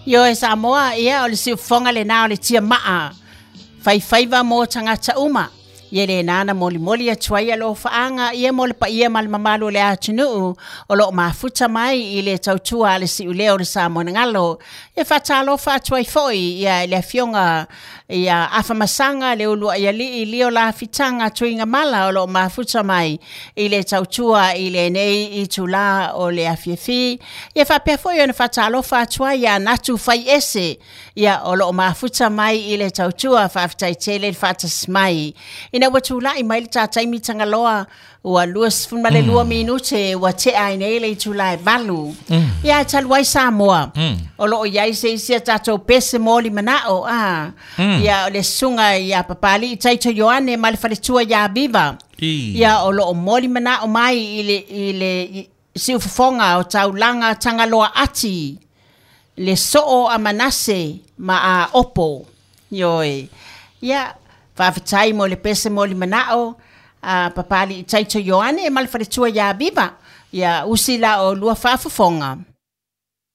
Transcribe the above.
Ioe Samoa, ia o le siufofoga lenā o le tiamaa faifaiva mo tagata uma. Ia lenā na molimoli atu ai alofaaga ia mo le paia ma le mamalu o le atunuu o lo o mafuta mai i le tautua a le siuleo o le Samoa galo. Ia faatalofa atu ai foi ia i le afioga ia Afamasaga le uluai alii Lio Lafitaga Tuigamala o lo o mafuta mai i le tautua i lenei itulā o le afiafi. Ia faapea foi ona faatalofa atu ai ia Natu Faiese ia o lo o mafuta mai i le tautua. Faafetai tele le faatasi mai. Ina ua tulai mai le ta taimi Tagaloa, ua 22 minute ua tea ai nei le itula e 8. Ia talu ai Samoa, o lo o i ai se isi a tatou pese moli manao, a ia o le susuga ia Papali'i Taito Ioane ma le faletua ia Viva. Ia o lo o moli manao mai i le siufofoga o taulaga Tagaloa Ati, le soo a Manase ma a Opo. Ioe. Ia, faafetai mo le pese moli manao a Papali'i Taito Ioane ma le faletua ia Viva. Ia usi la o lua faafofoga.